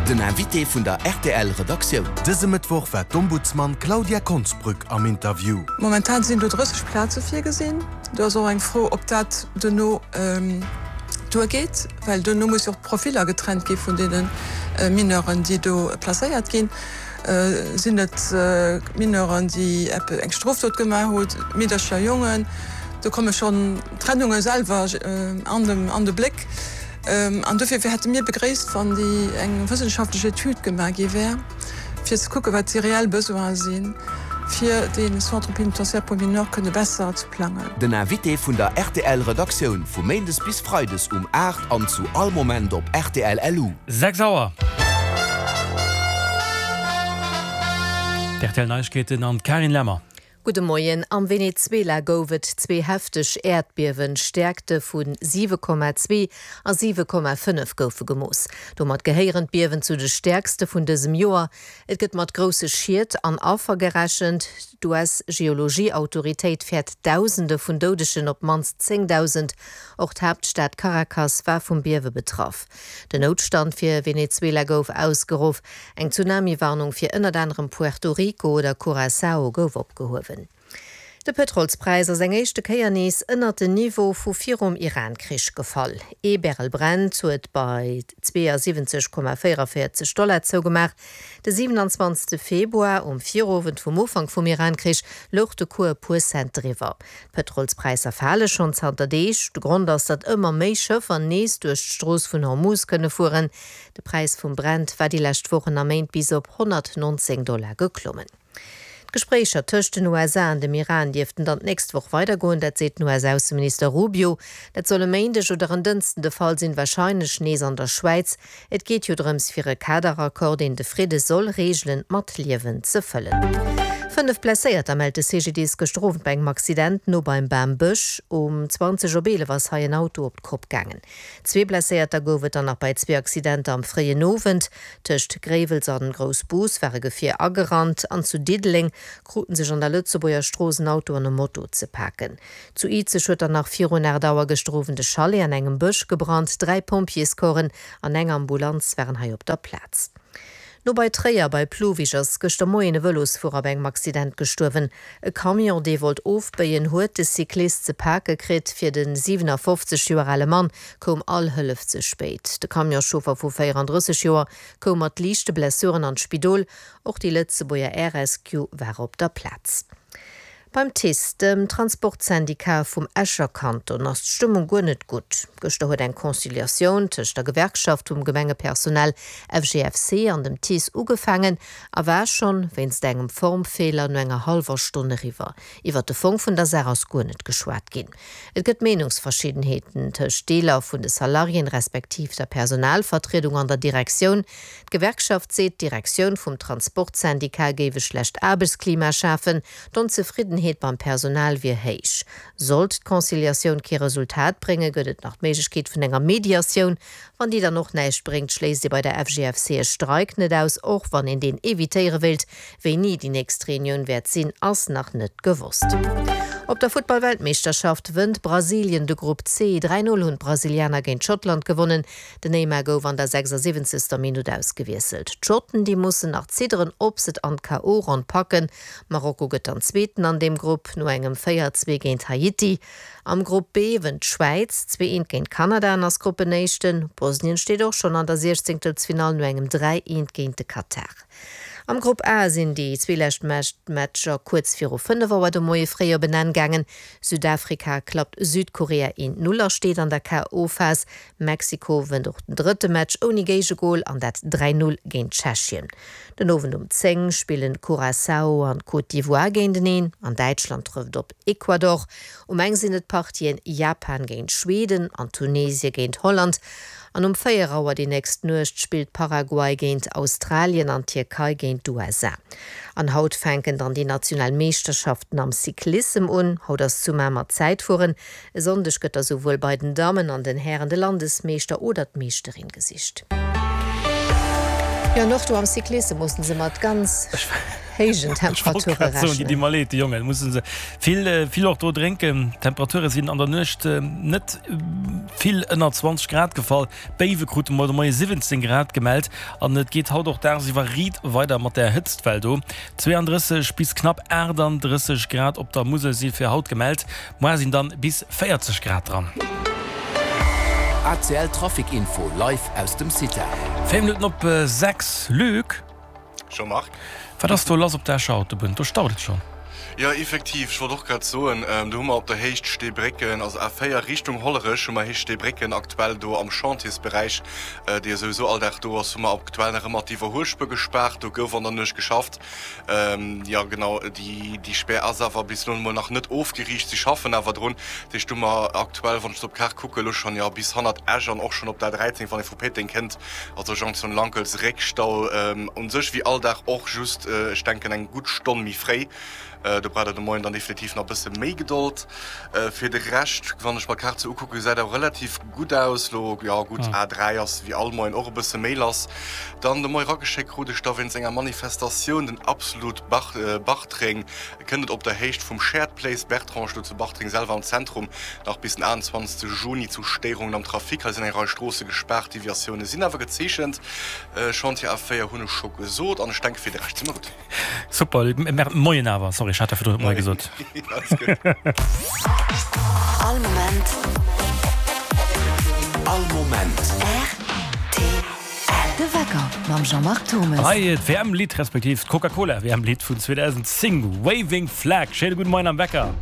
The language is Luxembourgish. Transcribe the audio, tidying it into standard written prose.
Den Invité vun der rtl Redaktioun. Dëse Mëttwoch war d'Ombudsman Claudia Konsbrück am Interview. Momentan sinn do 30 Plaze virgesinn. Do ass och eng Fro, ob dat duerno duergeet, well duerno muss jo och d'Profiller getrennt gi vun deene Mineuren, déi do placéiert ginn. Sinn et Mineuren, déi eng Strofdot gemaach hunn, Meedercher, Jongen? Do komme schonn d'Trennunge selwer an de Bléck. An dofir hätte mir begréisst, wann déi eng wëssenschaftlech Etüd gemaach gi wär, fir ze kucken, wat déi reell Besoine sinn, fir dee Centre pénitentiaire pour mineurs kënne besser ze plangen. Den Invité vun der rtl Redaktioun vu Méindes bis Freides um 8 an zu all Moment op rtl LU. 6 Auer. D'RTL Neiegkeeten an d'Carine Lemmer. Gudde Moien. Am Venezuela gouf et zwee hefteg Äerdbiewen. Stäerkte vu 7,2 a 7,5 goufe gemooss. Domat gehéieren d'Biewen zu de stäerkste vun dësem Joer. Et gëtt mat grousse Schied an Affer gerechent. D'US-Geologie-Autoritéit fäert Dausende vun Doudegen, op d'mannst 10.000. Och d'Haaptstad Caracas war vum Biewe betraff. Den Noutstand fir Venezuela gouf ausgeruff. Eng Tsunami-Warnung fir ënnert anerem Puerto Rico oder Curaçao gouf opgehuewen. De Pëtrolspräis ass eng éischte Kéier nees ënnert den Niveau vu virum Iran-Krich gefall. Ee Barrel Brent huet bei 72,44 Dollar zougemaach. De 27 Februar, um Virowend vum Ufank vum Iran-Krich, louch de Cours e puer Cent driwwer. D'Pëtrolspräisser fale schonn zanter Deeg. De Grond ass, datt ëmmer méi Schëffer nees duerch d'Strooss vun Hormuz kënne fueren. De Präis vum Brent war déi lescht Wochen a Méint bis op 119 Dollar geklommen. D'Gespréicher tëscht den USA an dem Iran dierften dann d'nächst Woch weidergoen, dat seet den US-Ausseminister Rubio. Dat soll e Méindeg oder en Dënsten de Fall sinn, warscheinlech nees an der Schwäiz. Et geet jo drëms fir e Kaderaccord, deen de Fridde soll reegelen, mat Liewen ze fëllen. 5 Blesséierter mellt de CGDIS gëschter Owend bei engem Accident no beim Bambësch. Um 20 op 11 ass hei en Auto op d'Kopp gaangen. Zwee Blesséierter gouf et dann nach bei zwee Accidenter am fréien Owend. Tëscht Gréiwels an Groussbus war e Gefier agerannt an zu Diddeleng kruten sech an der Lëtzebuerger Strooss en Auto an e Moto ze paken. Zu Izeg huet dann nach virun 8 Auer gëschter Owend e Chalet an engem Bësch gebrannt. Dräi Pompjeescorpsen an eng Ambulanz waren hei op der Plaz. No bei Tréier bei Plouwig ass gëschter Moien e Vëlosfuerer bei engem Accident gestuerwen. E Camion, dee wollt ofbéien, huet de Cyclist ze pake kritt. Fir de 57 Joer ale Mann koum all Hëllef ze spéit. De Camionschauffer vu 34 Joer koum mat liichte Blessuren an d'Spidol. Och déi Lëtzebuerger Air Rescue war op der Plaz. Beim TICE, dem Transportsyndicat vum Escher Kanton, ass d'Stëmmung guer net gutt. Gëschter huet eng Conciliatioun tëscht der Gewerkschaft vum Gemengepersonal FGFC an dem TICE ugefaangen a war schonn, wéinst engem Formfeeler, no enger hallwer Stonn eriwwer. Iwwert de Fong vun der Saach ass guer net geschwat ginn. Et gëtt Meenungsverschiddenheeten tëscht Deeler vun de Salariéen, respektiv der Personalvertriedung an der Direktioun. D'Gewerkschaft seet, d'Direktioun vum Transportsyndicat géif e schlecht Aarbechtsklima schafen, d'Onzefriddenheet beim Personal wier héich. Sollt d'Conciliatioun kee Resultat bréngen, gëtt et nach d'Méiglechkeet vun enger Mediatioun. Wann déi dann och näischt bréngt, schléisst ee bei der FGFC e Streik net aus, och wann een deen evitéiere wéilt. Wéini déi nächst Reunioun wäert sinn, ass nach net gewosst. Op der Futtball-Weltmeeschterschaft wënnt Brasilien de Grupp C. 3, 0 hunn d'Brasilianer géint Schottland gewonnen. Den Neymar gouf an der 76. Minutt ausgewiesselt. D'Schotten, déi mussen nach zidderen, ob se et an d'KO-Ronn packen. Marokko gëtt dann Zweeten an deem Grupp, no engem 4, 2 géint Haiti. Am Grupp B wënnt d'Schwäiz 2, 1 géint Kanada an ass Gruppenéischten. Bosnien steet och schonn an der Siechzéngtelsfinall no engem 3, 1 géint de Katar. Am Grupp A sinn déi zwee lescht Matcher kuerz viru 5 Auer de Moie fréi op en Enn gaangen. Südafrika klappt Südkorea 1, 0 a steet an der KO-Phas. Mexiko wënnt och den drëtte Match ouni Géigegol an dat 3, 0 géint Tschechien. Den Owend um 10 spillen Curaçao an Côte d'Ivoire géinteneen an Däitschland trëfft op Ecuador. Um eng sinn et d'Partien Japan géint Schweden an Tunesie géint Holland. An um 4 Auer déi nächst Nuecht spillt Paraguay géint Australien an d'Tierkei géint d'USA. An haut fänken dann déi national Meeschterschaften am Cyclissem un. Haut ass zu Mamer Zäitfueren. E Sonndeg gëtt da souwuel bei den Dammen an den Hären de Landesmeeschter oder d'Meeschterin gesicht. Jo, an och do am Cyclissem mussen se mat ganz héijen Temperature rechnen. Déi di mer leed, déi Jongen musse se vill, vill och do drénken. D'Temperature sinn an der Nuecht net vill ënner 20 Grad gefall. Béiwe krute mer de Moie 17 Grad gemellt an et geet haut och dagsiwwer riit weider mat der Hëtztwell do. 32 bis knapp 38 Grad op der Musel si fir haut gemellt, moar sinn dann bis 40 Grad dran. ACL Trafic Info live aus dem CITA. 4 Minutten op 6, Luc. Jean-Marc. Wat ass do lass op der Escher Autobunn? Do staut et schonn. Jo, effektiv, ech wollt och grad soen, do hu mer op der Héicht Steebrécken, also A4 Richtung Hollerech hu mer Héicht Steebrécken aktuell do am Chantiersberäich, dee jo souwisou all Dag do ass, hu mer aktuell nach ëmmer d'Iwwerhuelspuer gespaart. Do gouf an der Nuecht geschafft. Jo, genau, déi Spär ass awer bis elo emol nach net ofgeriicht. Si schaffen awer drun. Dat heescht, do hu mer aktuell, wann ech et op d'Kaart kucken, elo schonn, jo, bis hannert Esch an och schonn op der A13, wann ee vu Péiteng kënnt, Also Jonction Lankels, Réckstau un sech wéi all Dag och, just ech denken eng gutt Stonn méi fréi. Do braucht der de Moien dann definitiv nach e bësse méi Gedold. Fir de Rescht, wann ech mer d'Kaart sou ukucken, gesäit awer relativ gutt aus lo. Jo gutt, A3 ass wéi all Moien och e bësse méi lass. Dann de Moie rageschéckt krut ech da wéinst enger Manifestatioun den Absolut Bartreng. Kënnt et op der Héicht vum Shared Place Bertrange, do zu Bartreng selwer am Zentrum, nach bis den 28 Juni zu Stéierungen am Trafic. Hei sinn eng Rei Stroosse gespaart, Deviatioune sinn awer gezeechent. Chantier A4 hunn ech scho gesot an ech denke fir de Rescht si mer gutt. Super, Moien awer, sorry ech hat der virdrun net Moie gesot. Alles gutt. All Moment. All Moment. Rtl. De Wecker mam Jean-Marc Thomes. Hei d'WM-Lidd, respektiv d'Coca-Cola WM-Lidd vun 2010, Waving Flag. Schéine gudde Moien am Wecker.